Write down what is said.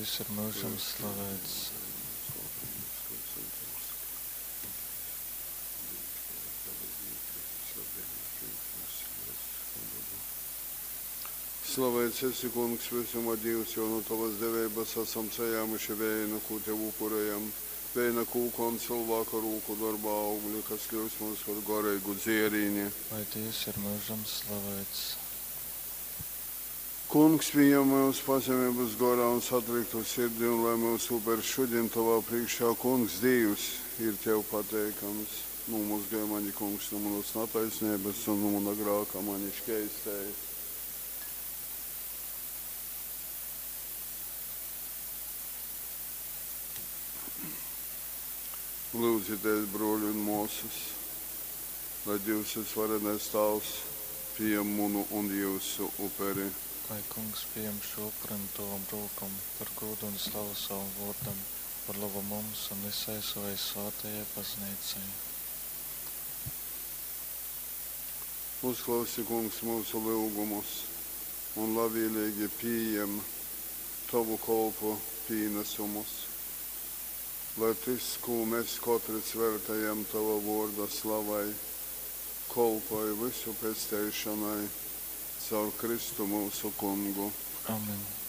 Dīvs ir myužam slaveits. Slaveits esi, Kungs, vysuma Dīvs, jo nu tovas deveibas asam sajāmuši veinu, kū tev upurejam, veina kūka un cylvāka rūku dorba augli, kas kļyust mums par goreigu dzierīni. Lai Dīvs ir myužam slaveits. Kungs, pījem myus pazemeibas gorā un satriktu sirdi, un lai myusu upers šudin tovā prīškā, Kungs, Dīvs, ir tev pateikams. Nūmozgoj mani, Kungs, nu munas nataisneibas un nu muna grāka mani škeistej. Lūdzieties, bruoli un māsas, lai Dievs visvarenais Tēvs pieņem munu un jūsu uperi. Lai Kungs pieņem šo upuri no tavam rokām par godu un slavu savam vārdam, par labu mums un visai savai svētajai baznīcai. Uzklausi, Kungs, mūsu lūgumus un labvēlīgi pieņem tavu kolpu pienesumus. Lai tas, ko mēs katrs veltējam tava vārda slavai, kolpoj visu pestīšanai caur Kristu mūsu kungu. Amen.